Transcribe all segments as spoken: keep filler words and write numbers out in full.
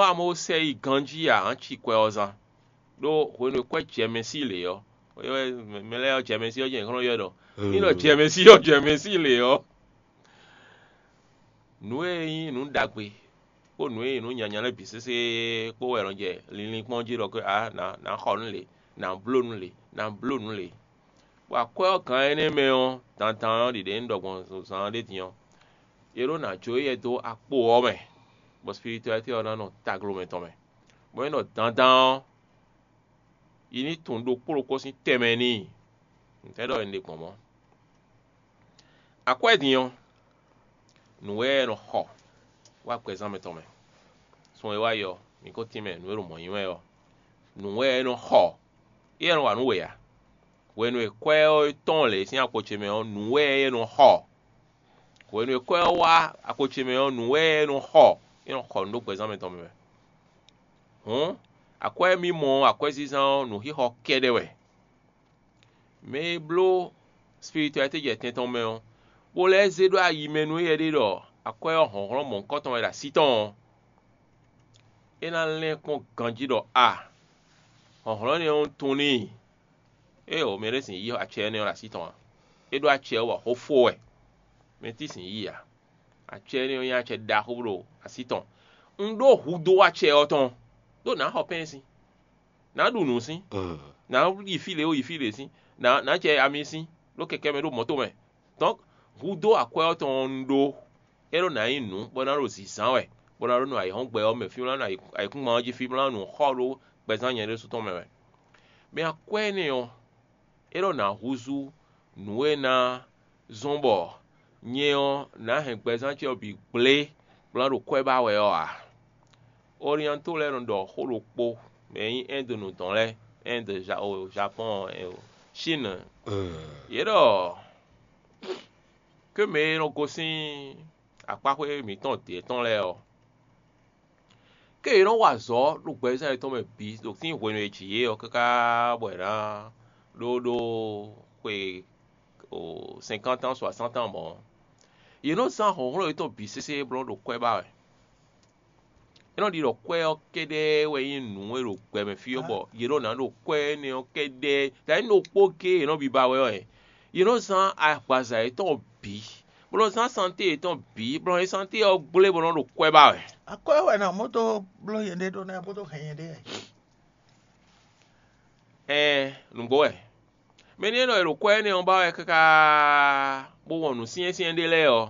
Amɔ̌ sɛ yi ganjí ǎ, hǎn ci kwɛ ɔ́ zán. Ɖó hwenu e kwɛ́ jɛmɛsí lě ɔ́, mɛ lɛ́ɛ ɔ́ jɛmɛsí ɔ́ jɛ xlɔ́n yɔ́ ɖɔ ní ɖɔ jɛmɛsí ɔ́ jɛmɛsí lě ɔ́, nǔ e nyí nǔ ɖagbe kpó nǔ e nyí nǔ nyanya lɛ́ɛ bǐ sésé kpó wɛ è nɔ jɛ linlin kpɔ́n jí ɖɔ ké ǎ, nǎ nǎ xɔ nǔ lě, nǎ bló nǔ lě, nǎ bló nǔ lě. Bɔ akwɛ́ ɔ́ gǎn énɛ́ mɛ ɔ́, dandan ɔ́ ɖiɖe un ɖɔ gbɔn zǎn ɔ́ ɖě din ɔ́, è ɖó nǎ jó éyɛ́ dó akpo ɔ́ mɛ, bɔ spiritualité ɔ́ ná nɔ taglo mɛtɔn mɛ. Bɔ é ɖɔ dandan ɔ́, yi ní tunwun ɖokpó ɖokpó sín tɛnmɛ n'i. Ntɛ́ ɖɔ è nǐ ɖe gbɔn mɔ̌? Akwɛ́ din ɔ́, nǔ wɛ è nɔ xɔ wá gbɛzán mɛtɔn mɛ. Sun e wá yi ɔ́, mǐ ko tínmɛ nǔ e ɖo mɔ̌ nyi wɛ ɔ́, nǔ wɛ è nɔ xɔ, é wɛ nɔ wa nǔ we ǎ. Hwenu e kwɛ́ ɔ́ tɔ́n lě sín akpo ce mɛ ɔ́, nǔ wɛ é nɔ xɔ. Hwenu e kwɛ́ ɔ́ wá akpo ce mɛ ɔ́, nǔ wɛ é nɔ xɔ, é nɔ xɔ nǔ ɖó gbɛzán mɛtɔn mɛ wɛ. Hǔn, akwɛ́ e mì mɔ ɔ́, akwɛ́zínzán ɔ́, nǔxixɔ kɛ́ɖɛ́ wɛ. Mɛ e bló spiritualité jɛ tɛn tɔn mɛ ɔ́, bó lɛ́ zé ɖó ayi mɛ nú éyɛ́ ɖé ɖɔ akwɛ́ ɔ́ hlɔ̌nhlɔ́n mɔ̌hunkɔtɔn wɛ ɖo así tɔn ɔ́, é ná lɛ́n kpɔ́n ganjí ɖɔ a, hlɔ̌nhlɔ́n énɛ́ ɔ́ tunwun n'i. Éeǒ, mɛ ɖé sixú yí acɛ énɛ́ ɔ́ ɖo así tɔn ǎ; é ɖó acɛ ɔ́ bɔ xó fó wɛ; mɛ tɛ́ sixú yí ǎ. Acɛ énɛ́ ɔ́ nyí acɛ ɖaxó ɖo así tɔn. Un ɖó hudó acɛ ɔ́ tɔn, ɖó nǎ xɔ pɛ́nsin, nǎ ɖu nǔ sín, nǎ yi fí lě e yi fí lě sín, nǎ nǎ jɛ ami sín ɖó kɛkɛ́ mɛ ɖó mɔ̌to mɛ. Dɔ̌n, hudó akwɛ́ ɔ́ tɔn ɔ́ un ɖó; é ɖó ná nyí nǔ bɔ é ná ɖo zǐnzán wɛ, bɔ é ná ɖó nɔ ayǐhɔ́ngbe ɔ́ mɛ fí bó ná nɔ ayǐkúngban ɔ́ jí fí bó ná nɔ xɔ ɖó gbɛzán nyɛ ɖésú tɔn mɛ wɛ. Mɛ akwɛ́ énɛ́ ɔ́, é ɖɔ nǎ húzú nǔ e ná zɔ́n bɔ nyɛ ɔ́ nǎ hɛn gbɛzán ce ɔ́ bǐ gblé bó ná ɖo kwɛ́ ba wɛ ɔ́ ǎ. Orianto lɛ́ɛ nɔ ɖɔ xó ɖokpó, mɛ e nyí Ɛ́ndunu tɔn lɛ́ɛ, Ɛ́ndu, Japɔ́ɔn, Chine, yě ɖɔ ké mɛ e nɔ gosín akpáxwé mǐtɔn dě tɔn lɛ́ɛ ɔ́, ké yě nɔ wa azɔ̌ ɖo gbɛzán yětɔn mɛ bǐ ɖo sín hwenu e è ji yě ɔ́ káká bɔ è nǎ ɖó ɖó xwe sɛnkántán soasántan mɔ̌. Yě nɔ zán hlɔ̌nhlɔ́n yětɔn bǐ sésé bó nɔ́ ɖo kwɛ́ ba wɛ. É nɔ ɖi ɖɔ kwɛ́ ɔ́ kɛ́ɖɛ́ wɛ nyí nǔ e ɖo gbɛ mɛ fí ɔ́, bɔ yě nɔ ná ɖo kwɛ́ énɛ́ ɔ́ kɛ́ɖɛ́, ta nyí ɖokpó géé yě nɔ biba wɛ ɔ́, yě nɔ zán agbaza yětɔn bǐ, bó nɔ́ zán santé yětɔn bǐ, bó nɔ́ nyí santé ɔ́ gblé bó nɔ́ ɖo kwɛ́ ba wɛ. Akwɛ́ wɛ ná mɔ dó bló nyɛɖée ɖó ná bó dó hɛn nyɛɖée wɛ. Ɛɛn, nǔgbó wɛ. Mɛ ní e nɔ e ɖo kwɛ́ énɛ́ ɔ́ ba wɛ káká bó wɔn nǔ syɛ́nsyɛ́n ɖé lɛ́ɛ ɔ́,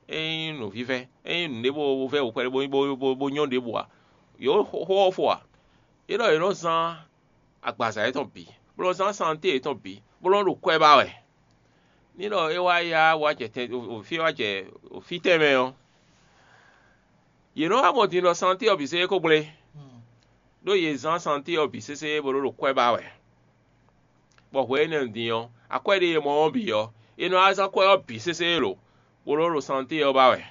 é nyí nǔvívɛ́; é nyí nǔɖé bó vɛ́ wǔ kpɛɖé bó bó bó bó nyɔ́ ɖěbǔ ǎ. Yě xó ɔ́ fo ǎ. É ɖɔ yě nɔ zán agbaza yětɔn bǐ, bó nɔ́ zán santé yětɔn bǐ, bó nɔ́ ɖo kwɛ́ ba wɛ. Ní ɖɔ é wá yá wá jɛ tɛn fí wá jɛ fí tɛnmɛ ɔ́, yě nɔ wá mɔ din ɖɔ santé ɔ́ bǐ sésé ko gblé, ɖó yě zán santé ɔ́ bǐ sésé bó nɔ́ ɖo kwɛ́ ba wɛ. Bɔ hwɛ énɛ́ din ɔ́, akwɛ́ ɖé e mɔ ɔ́ bǐ ɔ́, è nɔ wá zán kwɛ́ ɔ́ bǐ sésé lo, bó nɔ́ ɖo santé ɔ́ ba wɛ.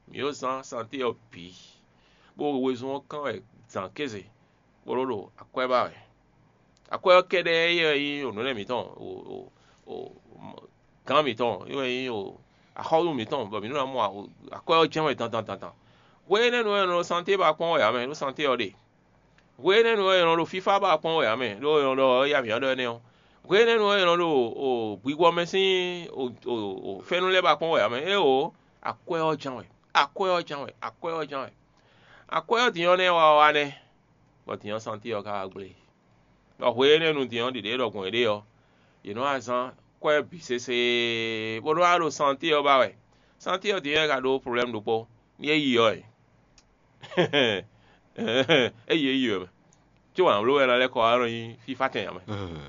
Mǐ nɔ zán santé ɔ́ bǐ, bó wezun ɔ́ kán wɛ zǎn kéze, bó nɔ́ ɖo akwɛ́ ba wɛ. Akwɛ́ ɔ́ kɛ́ɖɛ́ é wɛ nyí nǔ lɛ́ɛ mǐtɔn, gǎn mǐtɔn, é wɛ nyí axɔ́nú mǐtɔn, bɔ mǐ nɔ ná mɔ akwɛ́ ɔ́ jɛ́n wɛ dandan dandan. Hwe énɛ́ nu wɛ è nɔ ɖo santé ba kpɔ́n wɛ ǎ mɛ, ɖó santé ɔ́ ɖe. Hwe énɛ́ nu wɛ è nɔ ɖo fífá ba kpɔ́n wɛ ǎ mɛ, ɖó è nɔ ɖɔ ya mǐ nɔ ɖɔ énɛ́ ɔ́. Hwe énɛ́ nu wɛ è nɔ ɖo gbigɔ mɛ sín fɛ́nú lɛ́ɛ ba kpɔ́n wɛ ǎ mɛ. Éeǒ, akwɛ́ ɔ́ ján wɛ, akwɛ́ ɔ́ ján wɛ, akwɛ́ ɔ́ ján wɛ. Akwɛ́ ɔ́ din ɔ́ nɛ́ wa wá nɛ́, bɔ din ɔ́ santé ɔ́ ka wá gblé. Bɔ hwe énɛ́ nu din ɔ́ ɖiɖě ɖɔ gbɔn yěɖée ɔ́, yě nɔ wá zán kwɛ́ bǐ sésé, bó nɔ́ wá ɖo santé ɔ́ ba wɛ. Santé ɔ́ din ɔ́ ka ɖó problɛ́mu ɖokpó, ní é yi ɔ́ é. É yi é yi wɛ mɛ. Có wǎn bló wɛ ná lɛ́ kɔ wá nɔ nyi fífá tɛn ǎ mɛ.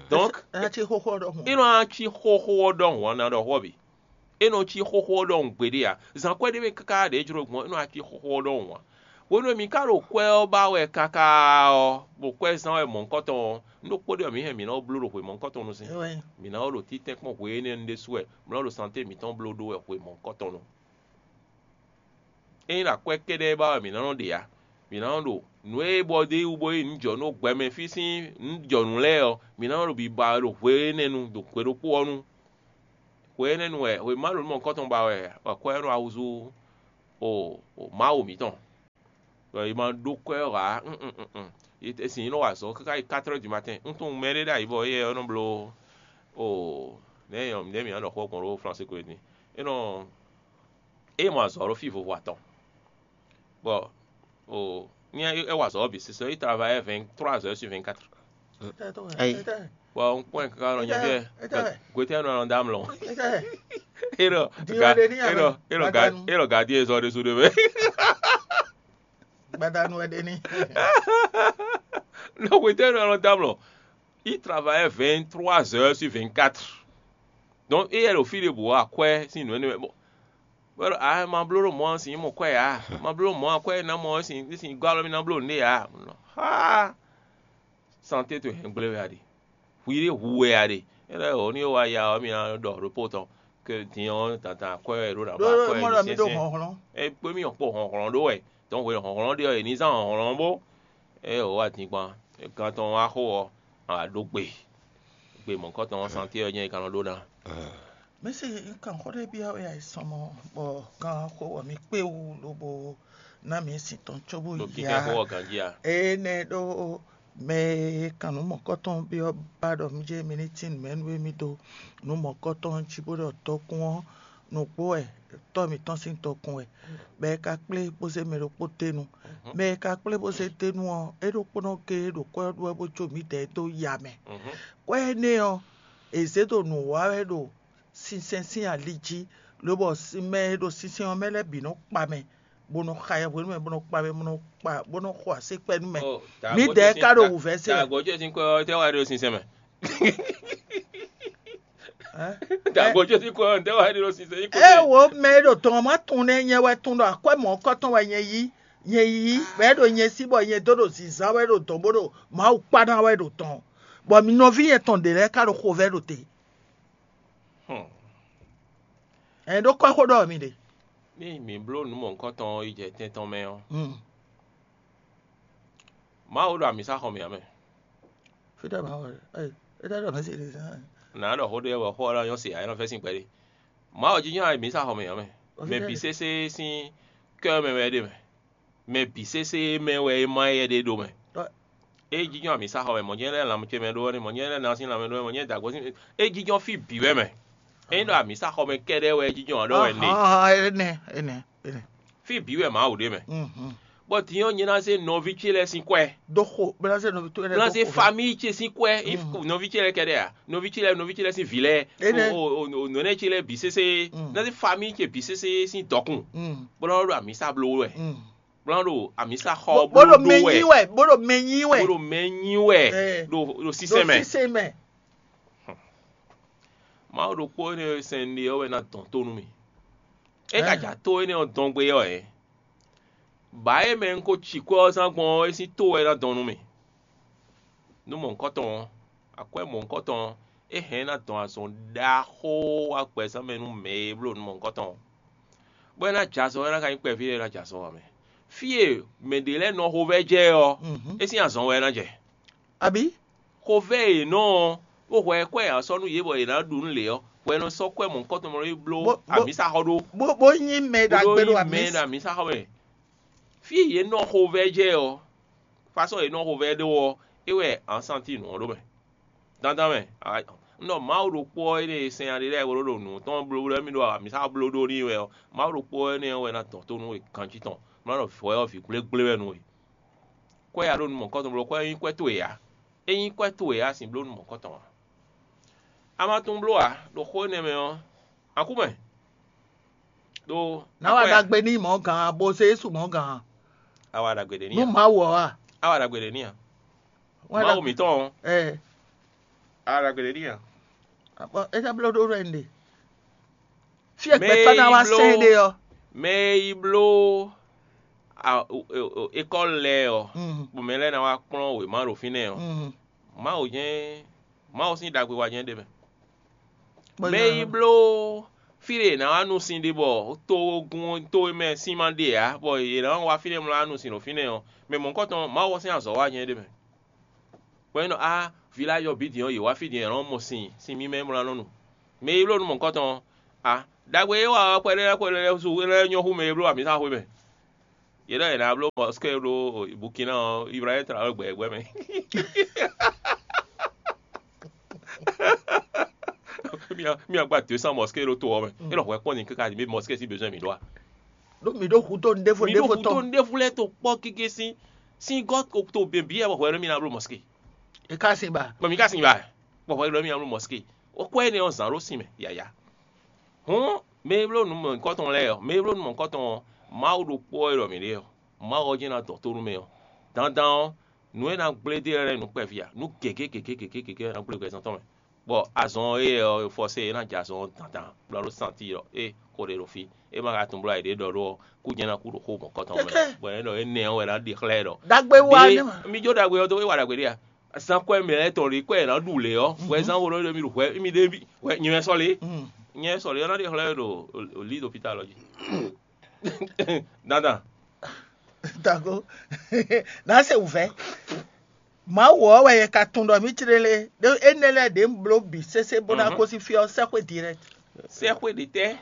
Donc, é nɔ cí xóxó ɔ́ ɖɔhun ɔ́ ná ɖɔ xó ɔ́ bǐ. É nɔ cí xóxó ɔ́ ɖɔhun gbeɖé ǎ. Zǎn kwɛ́ ɖé mɛ káká ɖě jló gbɔn, é nɔ ná cí xóxó ɔ́ ɖɔhun ǎ. Hwenu e mǐ ka ɖo kwɛ́ ɔ́ ba wɛ káká ɔ́, ɖo kwɛ́ zán wɛ mɔ̌hunkɔtɔn ɔ́, nú ɖokpó ɖé ɔ́, mǐ hɛn mǐ ná bló ɖo hwe mɔ̌hunkɔtɔn nu sín. Mǐ ná ɖo títɛ́nkpɔ́n hwe énɛ́ nu ɖésú wɛ, mǐ ná ɖo santé mǐtɔn bló ɖó wɛ hwe mɔ̌hunkɔtɔn nu. Ényí ɖo akwɛ́ kɛ́ɖɛ́ ba wɛ mǐ ná nɔ ɖe ǎ, mǐ ná nɔ ɖo nǔ e bɔ dó wú bó nyí nǔjɔnú gbɛmɛ fí sín nǔjɔnú lɛ́ɛ ɔ́, mǐ ná nɔ ɖo biba wɛ ɖo hwe énɛ́ nu ɖo hwe ɖokpó ɔ́ nu. Hwe énɛ́ nu wɛ hwe Mawu nú mɔ̌hunkɔtɔn ba wɛ akwɛ́ ɔ́ nɔ wá húzú o Mawu mǐtɔn. Bɔ è ma ɖó kwɛ́ ɔ́ ǎ. Sin nɔ wa azɔ̌ káká yi quatre heures du matin. Un tunwun mɛ ɖé ɖ'ayǐ bɔ éyɛ́ ɔ́ nɔ bló o nɛ̌ nyɔ nɛ̌ mǐ nɔ ɖɔ xó gbɔn ɖó Flɔ́nsi ko é din. É nɔ é mɔ azɔ̌ ɖo fí vovo atɔn. Bɔ o ní é wa azɔ̌ ɔ́ bǐ sísɔ, é travaille vingt trois heures sur vingt quatre. Ayi. Bɔ un kpɔ́n ɛ káká nɔ nyɛ fíɛ. Gwetɛ́ nɔ nɔ dá mlɔ. É ɖɔ Din ga wɛ ɖe ní é ɖɔ amɛ. É ɖɔ ga Gbadanu. É ɖɔ gardien zɔ ɖésú ɖé mɛ. Gbadanu wɛ ɖe ní. Nɔ gwetɛ́ nɔ nɔ dá mlɔ. Il travaille vingt trois heures sur vingt quatre. Donc éyɛ́ ɖo fí ɖěbǔ akwɛ́ sín nǔ énɛ́ mɛ. Bɔ bɔ a ma bló ɖo mɔ̌ ɔ́ sin mɔ kwɛ́ ǎ. Ma bló ɖo mɔ̌ akwɛ́ ná mɔ ɔ́ sin sin gɔ́ alɔ mì ná bló nǔɖé ǎ. Nɔ xá santé towe hɛn gblé wɛ a ɖe. Hwi ɖé hu wɛ a ɖe. É lɛ́ wǒ ní wa ya ɔ́ mì ná ɖɔ ɖokpó tɔn ke din ɔ́ dandan akwɛ́ wɛ ɖó ná ba Ɖó akwɛ́ mɔ ɖɔ mi ɖo sɛnsɛn. Hlɔ̌nhlɔ́n. É kpé mì ɔ́ kpo hlɔ̌nhlɔ́n ɖó wɛ. Tɔn hwe hlɔ̌nhlɔ́n ɖé ɔ́ è ní zán hlɔ̌nhlɔ́n bó. É wǒ wa din kpan. Gán tɔn wá xó ɔ́ a wǎ ɖó gbe. Gbe mɔ̌kɔtɔn ɔ́ santé ɔ́ nyɛ é ka nɔ ɖó ná. Mɛ̌si, un kan xó ɖé byɔ́ we ayisɔnmɔ bɔ kan xó wɔ mi kpé wú lobo ná mi sin tɔn cóbó Ɖo yi kíkɛ́ xó á. Ɔ́ ganjí a? Énɛ́ ɖó mɛ e kan nǔ mɔ̌kɔtɔn byɔ́ ba ɖɔ mi jɛ mi ní tín nǔmɛnú e mi dó nǔ mɔ̌kɔtɔn jí bó ɖɔ tɔkún ɔ́, nǔgbó wɛ tɔ́ mǐtɔn sín tɔkún wɛ, bɔ é ka kplé bó zé mɛ ɖokpó dó e nu. Mɛ e ka kplé bó zé dó e nu ɔ́, é ɖokpónɔ géé ɖo kwɛ́ ɔ́ ɖu wɛ bó jó mǐdɛɛ dó ya mɛ. Kwɛ́ énɛ́ ɔ́, è zě ɖo nǔ wa wɛ ɖo sinsɛn sín ali jí, lobɔ mɛ e ɖo sinsɛn ɔ́ mɛ lɛ́ɛ bǐ nɔ kpa mɛ, bó nɔ xa yɛhwenu mɛ, bó nɔ kpa mɛ, bó nɔ kpa, bó nɔ xo así kpɛ́ nú mɛ. Mǐdɛɛ ka ɖo wǔvɛ́ se wɛ. Dǎgbó ce sín kwɛ́ ɔ́, tɛ́ wá ɖe ɖo sinsɛn mɛ? Dǎgbó ce sín kwɛ́ ɔ́, tɛ́ wá ɖe ɖo sinsɛn nyí kó? Ée wo mɛ e ɖo dɔn ɔ́ ma tunwun nɛ́ nyɛ wɛ tunwun ɖɔ akwɛ́ mɔ̌kɔtɔn wɛ nyɛ yí, nyɛ yí, bɔ é ɖo nyɛ sí bɔ nyɛ dó ɖo zǐnzán wɛ ɖo dɔn bó ɖo Mawu kpá ná wɛ ɖo dɔn, bɔ mi nɔví nyɛ tɔn ɖě lɛ́ɛ ka ɖo xovɛ́ ɖo te. Ɛn ɖó kɔ́ xó ɖɔ mi ɖe. Ní mǐ bló nǔ mɔ̌hunkɔtɔn ɔ́ yi jɛ tɛn tɔn mɛ ɔ́, Mawu ɖo amǐsaxɔmɛ ǎ mɛ. Fítɛ́ Mawu ɖe? Ée, é ɖɔ mɛ̌ se ɖe zán? Nǎ ɖɔ xó ɖé wɛ xó ɔ́ ná nyɔ́ se ǎ, é nɔ fɛ́ sín gbɛɖe. Mawu jínjɔ́n amǐsaxɔmɛ ǎ mɛ. Mɛ bǐ sésé sín kɛ́ mɛ wɛ é ɖe mɛ. Mɛ bǐ sésé mɛ wɛ é má yɛ ɖe ɖo mɛ. É jínjɔ́n amǐsaxɔmɛ, mɔ̌ nyɛ lɛ́ɛ lanmɛ ce mɛ ɖó wɛ, mɔ̌ nyɛ lɛ́ɛ ná sín lanmɛ ɖó wɛ, mɔ̌ nyɛ dǎgbó sín, é jínjɔ́n fí bǐ wɛ mɛ. É nyí ɖɔ amǐsaxɔmɛ kɛ́ɖɛ́ wɛ é jínjɔ́n ǎ ɖɔ wɛ nɛ. Énɛ́, énɛ́, énɛ́. Fí bǐ wɛ Mawu ɖe mɛ. Bɔ din ɔ́, nyɛ ná zé nɔví ce lɛ́ɛ sín kwɛ́. Dó xo, bó ná zé nɔví towe lɛ́ɛ Bó ná dó zé xo. Famíyi ce sín kwɛ́. Nɔví ce lɛ́ɛ kɛ́ɖɛ́ ǎ. Nɔví ce lɛ́ɛ, nɔví ce lɛ́ɛ sín vǐ lɛ́ɛ. Énɛ́. O, o, o, nɔnɛ́ ce lɛ́ɛ bǐ sésé. Ná zé famíyi ce bǐ sésé sín dɔkun. Bó ná ɖo amǐsa bló wɛ. Bó ná ɖo amǐsa xɔ Bó- bó bló ɖo mɛ ɖó wɛ. Nyi wɛ, bó ɖo mɛ nyi wɛ. Bó ɖo mɛ nyi wɛ. Ɛ. Ɖo ɖo Ɖo sísɛn mɛ. Sísɛn mɛ. Mawu ɖokpó énɛ́ e sɛn ɖe ɔ́ wɛ ná dɔn tó nú mì. É ka Ɛ. Ja tó énɛ́ ɔ́ dɔn gbé ɔ́ ɛ. Bǎ e mɛ un ko ci kwɛ́ ɔ́ zán gbɔn ɔ́, é sín tó wɛ ná dɔn nú mì. Nú mɔ̌hunkɔtɔn ɔ́, akwɛ́ mɔ̌hunkɔtɔn ɔ́, é hɛn ná dɔn azɔn ɖaxó wá gbɛzán mɛ nú mɛ e bló nú mɔ̌hunkɔtɔn ɔ́. Bɔ é ná jɛ azɔn, é ná ka nyí kpɛví lɛ́ɛ ná jɛ azɔn ǎ mɛ. Fí e mɛ ɖě lɛ́ɛ nɔ xovɛ́ jɛ ɔ́, é sín azɔn wɛ é ná jɛ. Abǐ? Xovɛ́ e è nɔ ɔ́, bó hwɛ kwɛ́ e a sɔ́ nú yě bɔ yě ná ɖu nú lě ɔ́, hwɛ nɔ sɔ́ kwɛ́ mɔ̌hunkɔtɔn mɔ é bló Bó- bó- amǐsaxɔ ɖó. Bó bó nyí mɛ Bó ɖagbe ɖó ɖó nyí mɛ amǐ. Ɖo amǐsaxɔ mɛ. Fí e yě nɔ xovɛ́ jɛ ɔ́, fásɔn e nɔ xo vɛ ɖó ɔ́, é wɛ a nɔ santi nǔ ɔ́ ɖó mɛ. Dandan mɛ, a- un ɖɔ Mawu ɖokpó ɔ́ énɛ́ e sɛn aɖé lɛ́ɛ bló ɖo nǔ tɔn bló bló mì ɖo amǐsa bló ɖó n'i wɛ ɔ́, Mawu ɖokpó ɔ́ énɛ́ ɔ́ wɛ ná dɔn tó nú we ganjí tɔn. Má ɖɔ vɔ̌ ɔ́ vǐ gblégblé wɛ nú we. Kwɛ́ ya ɖo nú mɔ̌kɔtɔn bló, kwɛ́ nyí kwɛ́ towe ǎ. É nyí kwɛ́ towe ǎ, sin bló nú mɔ̌kɔtɔn ǎ. A ma tunwun bló ǎ, ɖo xó énɛ́ mɛ ɔ́, a kú mɛ. Ɖó Ná wa akwɛ́ ya- ɖagbe n'i mɔ̌ gǎn, bo zé Jezu mɔ̌ gǎn. A wa ɖagbe ɖe n'i Nú a? Mawu ɔ́ a? A wa ɖagbe ɖe n'i a? Wa Mawu ɖagbe- mǐtɔn ɔ́, Ɛ, a wa ɖagbe ɖe n'i a? Bɔ é ká bló ɖó ɖɔ ɖe. Fí e Mɛ gbɛtɔ́ ná e wá bló- sɛn ɖe ɔ́. Mɛ e yi bló a- o- o- o- école lɛ́ɛ ɔ́, Mm. Bɔ mɛ lɛ́ɛ ná wá kplɔ́n wěma ɖo fínɛ́ ɔ́, Mm. Mawu jɛ́n Mawu sín ɖagbe wa jɛ́n ɖe mɛ. Bɔ Mɛ nya- yi bló fí ɖe è nǎ wá nu sin ɖe bɔ togun towe mɛ sín ma ɖe ǎ, bɔ yě nǎ wá fínɛ́ mlɔ́ wá nu sin ɖo fínɛ́ ɔ́, mɛ mɔ̌hunkɔtɔn Mawu ɔ́ sín azɔ̌ wa jɛ́n ɖe mɛ. Bɔ é nɔ á village ɔ́ bǐ din ɔ́, yě wá fí din ɔ́, yě nɔ mɔ sin, sin mímɛ́ mlɔ́ nɔ nu. Mɛ yi bló nú mɔ̌hunkɔtɔn ɔ́, a ɖagbe e wa ɔ́, kpɛɖé lɛ́ɛ kpɛɖé lɛ́ɛ su é lɛ́ɛ nyɔ́ hú mɛ e bló amǐsaxwé mɛ. Yě ɖɔ yě ná bló mɔskée ɖó Bukina ɔ́, Ibrahim tra wɛ gbɛ gbɛ mɛ. Mía mía gba deux cents mɔskée ɖo to ɔ́ mɛ. É ɖɔ hwɛ kpɔ́n ni káká mɛ mɔskée sín besoin mǐ ɖó a? Ɖó mǐ ɖó hudó nu ɖěvo mi ɖó ɖěvo hudó tɔn. Nu ɖěvo lɛ́ɛ to kpɔ́ gégé sín sín gɔ́ to běbí wɛ bɔ hwɛ ɖɔ mí ná bló mɔskée. É ka sin ba. Bɔ mǐ ka sin ba bɔ hwɛ ɖɔ mí ná bló mɔskée. Ó kɔ énɛ́ ɔ́ zǎn ɖó sin mɛ yǎyá. Hǔn mɛ e bló nǔ mɔ̌hunkɔtɔn lɛ́ɛ ɔ́, mɛ e bló nǔ mɔ̌hunkɔtɔn ɔ́, Mawu ɖokpó wɛ ɖɔ mǐ ɖe ɔ́, Mawu ɔ́ jɛ́n ná dɔn tó nú mɛ ɔ́. Dandan ɔ́, nǔ e ná gblé dó e lɛ́ɛ nǔ kpɛví ǎ, nǔ gěgé gěgé gěgé gěgé ɔ́ ná gblé gbɛzán tɔn mɛ. Bɔ azɔn e ɔ́ fɔ́sé é ná jɛ azɔn ɔ́ dandan, bɔ ná ɖó santi ɖɔ é xo ɖé ɖo fí. É ma ka tunwun bló ayǐ ɖé ɖɔ ɖó ɔ́, kú jɛ́n ná kú ɖo xó mɔ̌kɔtɔn mɛ. Kɛkɛ. Bɔ é ɖɔ énɛ́ ɔ́ wɛ ná ɖe xlɛ́ ɖɔ. Dagbe wa ɖé ne ma. Mi jó ɖagbe ɔ́ dó, é wa ɖagbe ɖé a? Zan kɔ́ mɛ lɛ́ɛ tɔn ɖě kɔ è nǎ ɖu lě ɔ́, hwɛ zán wo ɖɔ mi ɖu hwɛ mi ɖe hwɛ nyɛ wɛ sɔ́ lě. Nyɛ wɛ sɔ́ lě ɔ́ ná ɖe xlɛ́ ɖo lǐ ɖo pita lɔ jí. Dandan. Dago. N'a se wǔvɛ́. Mawu ɔ́ wɛ yɛ ka tunwun ɖɔ mǐ clé lé. Ɖó énɛ́ lɛ́ɛ ɖě un bló bǐ sésé bó ná gosín fí ɔ́, sɛ́xwé direct. Sɛ́xwé ɖě tɛ́.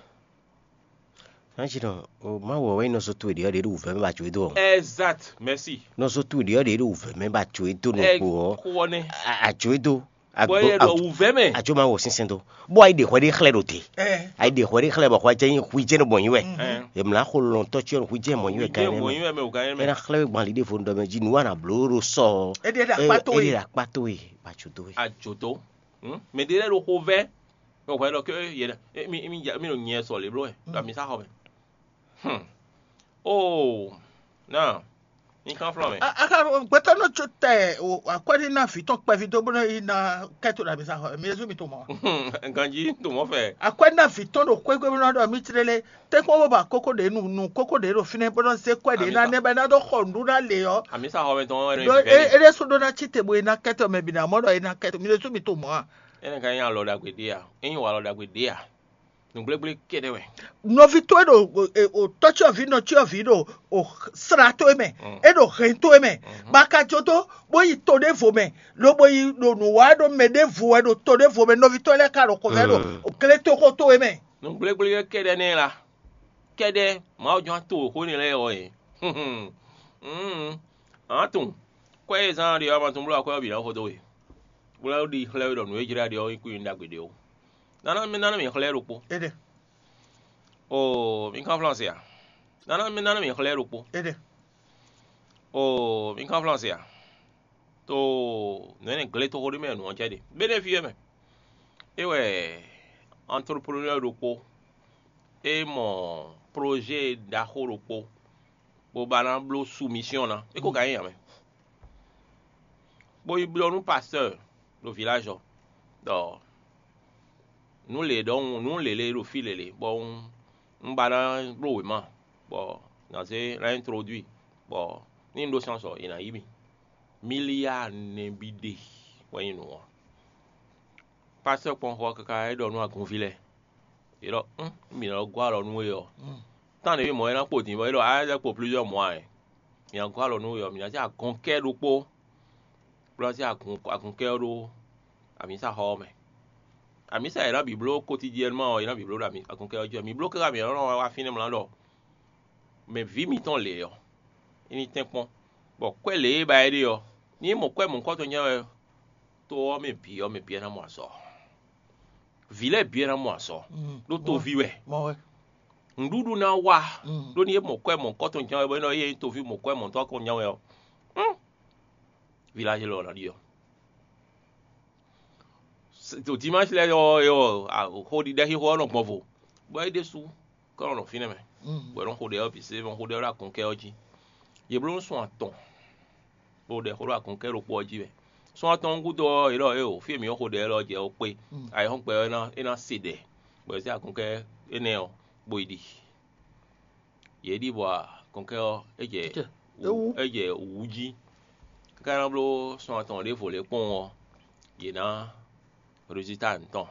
Nǎjínɔ, o Mawu ɔ́ wɛ nyí nɔzo towe ɖě ɔ́ ɖě ɖo wǔvɛ́ mɛ ba jǒ e dó ɔ́. Exact, merci. Nɔzo towe ɖě ɔ́ ɖě ɖo wǔvɛ́ mɛ ba jǒ e dó nukpo ɔ́. Xó ɔ́ nɛ́. A- Àjǒ e dó. Bɔ yɛ ɖɔ wǔvɛ́ mɛ. Àjǒ ma wɔ sínsɛ́n dó. Bó ayi ɖe hwɛ ɖé xlɛ́ ɖo te. Ayi ɖe hwɛ ɖé xlɛ́ bɔ hwɛ jɛ nyí hwi jɛ nɔ bɔ nyí wɛ. Yě mlá xo lɔn tɔ́ cyɔ hwi jɛ mɔ nyí wɛ gán mɛ. Mɔ nyí wɛ mɛ o gán mɛ. Ena xlɛ́ we gbɔn ali ɖěvo ɖɔ mɛ jí nǔ wa nǎ bló ɖo sɔ. Éɖée ɖo akpá towe. Éɖée ɖo akpá towe. Ba jǒ dó we. Àjò tó. Mɛ ɖé lɛ́ɛ ɖo xo vɛ́. Bɔ hwɛ ɖɔ ké yɛ mi mi mi ɖo nyɛ sɔ lě bló wɛ ɖo ami sá xɔ mɛ. Hmm. Oh, now, mi kan flɔ́n mɛ. A- aka gbɛtɔ nɔ tso tɛ o akwɛ́ ní ná vǐ tɔn kpɛví dó bó nɔ yi ná kɛ́tó ɖo abisa xɔ mi yézu mi to mɔ. Ganjí to mɔ fɛ. Akwɛ́ ná vǐ tɔn ɖo xwégbé bó nɔ ɖɔ mí tlélé tɛ́nkpɔ́n bó ba kókó ɖě nu nu kókó ɖě ɖo fínɛ́ bó nɔ zé kwɛ́ ɖě ná nɛ́ bɔ é ná dó xɔ nǔɖuɖu ná lě ɔ́. Àmì sa xɔ mɛ tɔn wɛ ɖo ɖó ìfẹ́ é- é ɖésú ɖó ná cí te bó é ná kɛ́tó mɛ bǐ ná mɔ ɖɔ é ná kɛ́tó mi yézu mi to mɔ a. Ene ka nya lɔ ɖagbe ɖe a? Enyi wa lɔ ɖagbe ɖe a? Nǔgblégbé kɛ́ɖɛ́ wɛ. Nɔví towe ɖo o tɔ́cyɔvǐ nɔcyɔvǐ ɖo o sra towe mɛ, é ɖo hɛn towe mɛ, bɔ a ka jó dó bó yi to ɖěvo mɛ, lobo yi ɖo nǔ wa ɖo mɛ ɖěvo wɛ ɖo to ɖěvo mɛ, nɔví towe lɛ́ɛ ka ɖo xovɛ́ ɖo gletoxo towe mɛ. Nǔgblégbé kɛ́ɖɛ́ nɛ́ la, kɛ́ɖɛ́ Mawu jɔn to xó n'i lɛ́ɛ ɔ́ e. Ǎ tunwun, kwɛ́ e zán ɖe ɔ́, ma tunwun bló akwɛ́ ɔ́ bǐ ná xo dó we, bó ná ɖi xlɛ́ we ɖɔ nǔ e jlá ɖe ɔ́ nyí kú nyi ɖagbe ɖe ó. Nana mi nana mi xlɛ́ ɖokpó. Éɖe. Oo, mi kan flɔ́n se a? Nana mi nana mi xlɛ́ ɖokpó. Éɖe. Oo, mi kan flɔ́n se a? To nǔ énɛ́ gletoxo ɖé mɛ nǔ ɔ́ jɛ ɖe. Bénɛ́fi wɛ mɛ. É wɛ entrepreneur ɖokpó. É mɔ projet ɖaxó ɖokpó. Bó ba ná bló soumission ná. É ko ka nyí ǎ mɛ. Bó yi blɔ́ nú pasteur ɖo village ɔ́ ɖɔ nǔ lě ɖɔhun nǔ lělé ɖo fí lělé bɔ un un ba ná bló wěma bɔ nǎ zé ná introduit bɔ ní un ɖó chance ɔ́, è nǎ yí mì. Milliard nɛbí ɖe wɛ nyí nǔ ɔ́. Pasteur kpɔ́n xɔ káká é ɖɔ nú agunví lɛ́ɛ. Yě ɖɔ: "Ún, mǐ nɔ gɔ́ alɔ nú we ɔ́, tán ɖě mɔ̌ é ná kpo din bɔ é ɖɔ a lɛ́ kpo plusieurs mois ɛ. Mǐ ná gɔ́ alɔ nú we ɔ́, mǐ ná zé agɔnkɛ́ ɖokpó bó ná zé agun agɔnkɛ́ ɔ́ ɖó amǐsaxɔ ɔ́ mɛ. Amǐsa e è nǎ bǐ bló quotidiennement ɔ́, è nǎ bǐ bló ɖo amǐ agɔnkɛ́ ɔ́ jí wɛ. Mǐ bló káká mǐ nɔ wá fínɛ́ mlá ɖɔ mɛ vǐ mitɔn lě ɔ́, é ní tɛ́nkpɔ́n, bɔ kwɛ́ lě e ba é ɖe ɔ́, ní mɔ kwɛ́ mɔ̌hunkɔtɔn jɛ́n wɛ to ɔ́ mɛ bǐ ɔ́, mɛ bǐ ɔ́ ná mɔ azɔ̌. Vǐ lɛ́ɛ bǐ ɔ́ ná mɔ azɔ̌, ɖó toví wɛ. Nǔɖuɖu ná wá, ɖó ní é mɔ kwɛ́ mɔ̌hunkɔtɔn jɛ́n wɛ bɔ é nɔ yé nyí toví mɔ kwɛ́ mɔ̌hunkɔtɔn jɛ́n wɛ ɔ́, village lɔ ná ɖi ɔ́. Ɖo dimanche lɛ́ɛ ɔ́, xo ɖiɖɛ xixo ɔ́ nɔ gbɔn vo, bɔ é ɖésú kɔ nɔ nɔ fínɛ́ mɛ, bɔ è nɔ xo ɖɛ ɔ́ bǐ se, bɔ xo ɖɛ ɔ́ ɖo agɔnkɛ́ ɔ́ jí. Yě bló nú sun atɔn, bó ɖɛ xó ɖo agɔnkɛ́ ɖokpó ɔ́ jí wɛ. Sun atɔn ɔ́ gúdo ɔ́, yě ɖɔ éeǒ, fí e mǐ nɔ xo ɖɛ lɛ́ɛ ɔ́ jɛ ó kpé, ayǐhɔ́ngbe ɔ́ é ná é ná se ɖɛ, bɔ è zé agɔnkɛ́ énɛ́ ɔ́, bó yi ɖi. Yě ɖi bɔ agɔnkɛ́ ɔ́, é jɛ é jɛ wǔ jí. Káká ná bló sun atɔn ɖěvo lě kpɔ́n ɔ́, yě ná résultat mǐtɔn,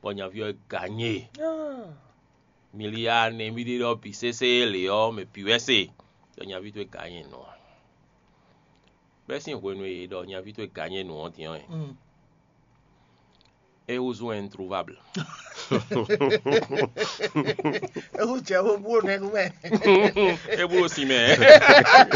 bɔ nyaví ɔ́ gǎ nyí e. Miliya nɛví ɖé ɖɔ bǐ sésé lě ɔ́, mɛ bǐ wɛ se ɖɔ nyaví towe gǎ nyí nǔ ɔ́. Bɛ́ sín hwenu e yě ɖɔ nyaví towe gǎ nyí nǔ ɔ́ din ɔ́, É wúzú introuvable. Ewu jɛ wo bó nɛ nú mɛ. É búrò si mɛ.